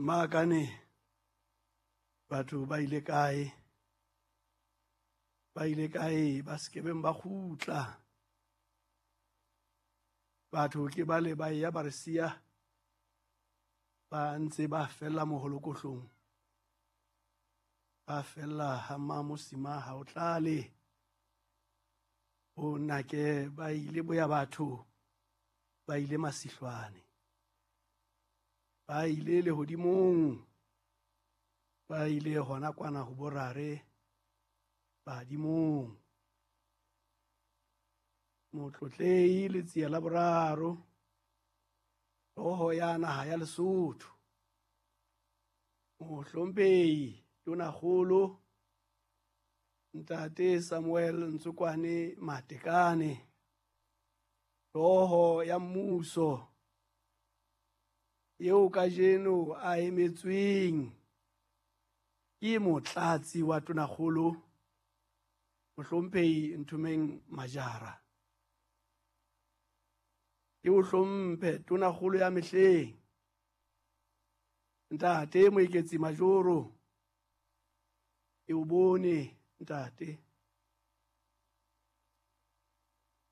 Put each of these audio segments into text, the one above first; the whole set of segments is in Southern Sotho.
Mmakane batho ba ile kae? Ba ile kae ba sekebeng ba kgutla? Batho ke bale ba eya ba re siya ba ntse ba fella moholokohlong. Ba fella ha Mmamosima ha o tlale. Bo nake ba ile boya batho ba ile masihlwane. Ba ile lehodimong, ba ile hona kwana ho borare badimong. Motlotlehi Letsie la boraro, hlooho ya naha ya Lesotho. Mohlomphehi Tonakgolo Ntate Samuel Ntsokwane Matekane, hlooho ya mmuso eo kajeno a emetsweng ke motlatsi wa Tonakgolo Mohlomphehi Nthomeng Majara. Ke o hlomphe Tonakgolo ya mehleng Ntate Moeketsi Majoro, e o bone ntate.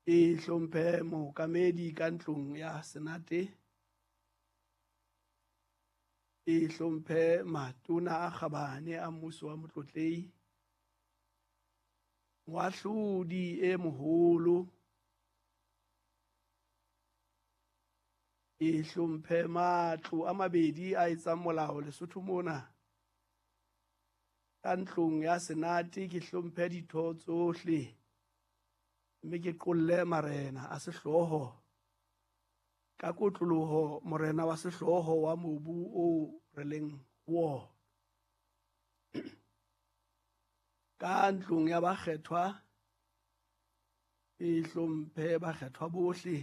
E hlomphe mookamedi ka ntlong ya Senate. E hlomphe matona a kgabane a mmuso wa motlotlehi. Moahlodi e moholo. E hlomphe matlo a mabedi a etsang molao Lesotho mona. Ka ntlong ya Senate ke hlomphe ditho tsohle mme ke qolle marena a sehlooho ka kotloloho morena wa sehlooho wa mobu o re leng ho wona. Ka ntlong ya bakgethwa ke hlomphe bakgethwa bohle,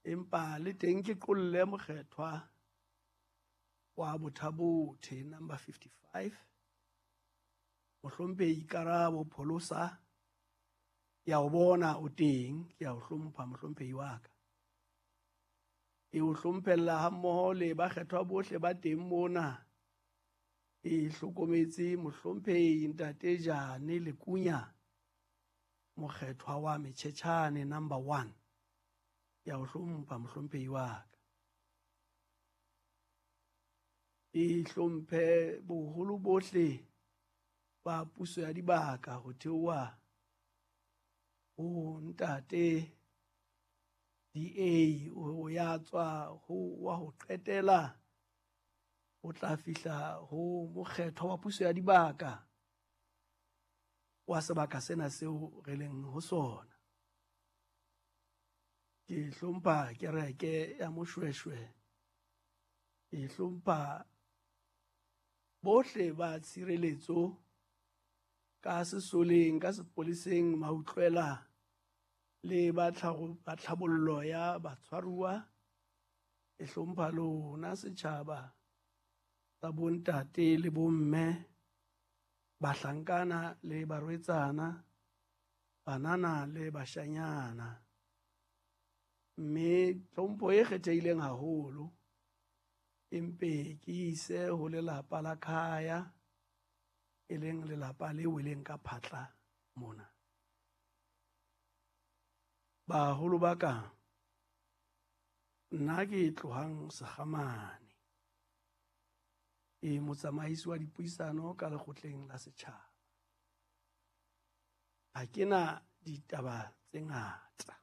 empa le teng ke qolle mokgethwa wa Bothabothe number 55 Mohlomphehi Karabo Pholosa. Ke a o bona o teng, ke a o hlompha mohlomphehi wa ka. Ke o hlomphella hammoho le bakgethwa bohle ba teng mona. E hlokometse mohlomphehi Ntate Jane Lekunya, mokgethwa wa Metjhetjhane number 1. Ke a o hlompha mohlomphehi wa ka. E hlomphe boholo bohle ba puso ya dibaka ho theoha ho ntate DA ho ya tswa ho wa ho qetela o tla fihla ho mokgethwa wa puso ya dibaka wa sebaka sena seo re leng ho sona. Ke hlompha kereke ya Moshweshwe, ke hlompha bohle ba tshireletso ka sesoleng, ka sepoleseng, mautlwela le ba tlhabollo ya batshwaruwa. E hlompha lona setjhaba sa bontate le bomme, bahlankana le barwetsana, banana le bashanyana. Mme tlhompho e kgethehileng haholo empe ke ise ho lelapa la Khaya, e leng lelapa le weleng ka phatla mona. Baholo ba ka, nna ke tlohang Sekgamane, ke motsamaisi wa dipuisano ka lekgotleng la setjhaba. Ha ke na ditaba tse ngata.